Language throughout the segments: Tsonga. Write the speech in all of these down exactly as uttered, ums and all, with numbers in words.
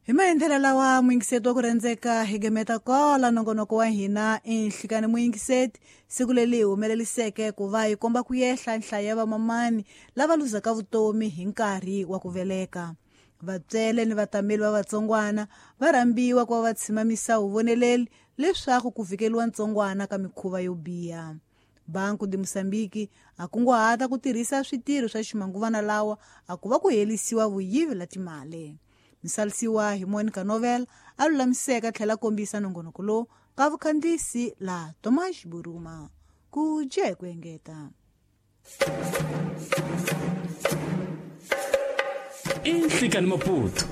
Hi maendlelo lawa muyingiseti wa ku rhendzeka hi gemeta kola nongonoko wa hina enhlikani muyingiseti siku leri hi humeleliseke ku va hi komba ku yehla nhlayo ya vamamani lava luzaka vutomi hi nkarhi wa ku veleka. Vatswele ni vatameli va vatsongwana va rhambiwa ku va va tshimamisa vuvoneleli leswaku ku vhikeliwa ntsongwana ka mikhuva yo biha. Banco de Moçambique a kunguhata ku tirhisa switirho swa ximanguvana lawa a ku va ku helisiwa vuyivi la timali. Misalisiwa hi Monica Novel a lulamiseka tlhela kombisa nongonoko lowu ka vukhandziyisi la Tomas Buruma. Ku dya hi ku engeta. Inhlikani Maputo.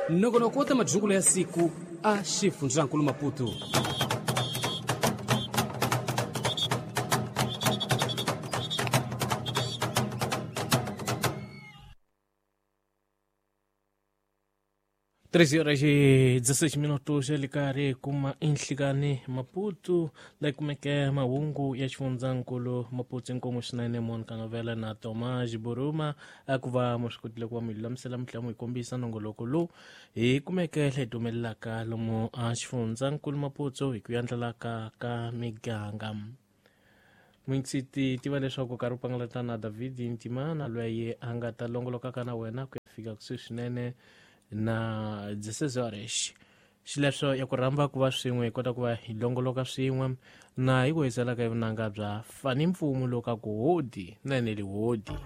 Nongonoko wa ta madyungulo ya siku a xifundzankulu Maputo. treze horas e dezesseis minutos ali kari kuma inhlikani Maputo la kumeke mahungu ya xifundzankulu Maputo inkomu swinene Monica Novela na Tomas Buruma akuva mo swi kotile ku va mi lulamisela mi tlhela mu hi kombisa nongoloko lowu hi kumeke leyi humelelaka lomu a xifundzankulu Maputo hi ku yandlalaka ka miganga. Muyingiseti tiva leswaku nkarhi wu pangalata na David Ntimana loyi a nga ta longolokaka na wena ku ya fika kusuhi swinene na dezesseis horas. Xileswo ya ku rhamba ku va swin'we hi kota ku va hi longoloka swin'we na hi ku hiselaka hi vunanga bya fani mpfumu lowu ka ku hodi na eneli hodi.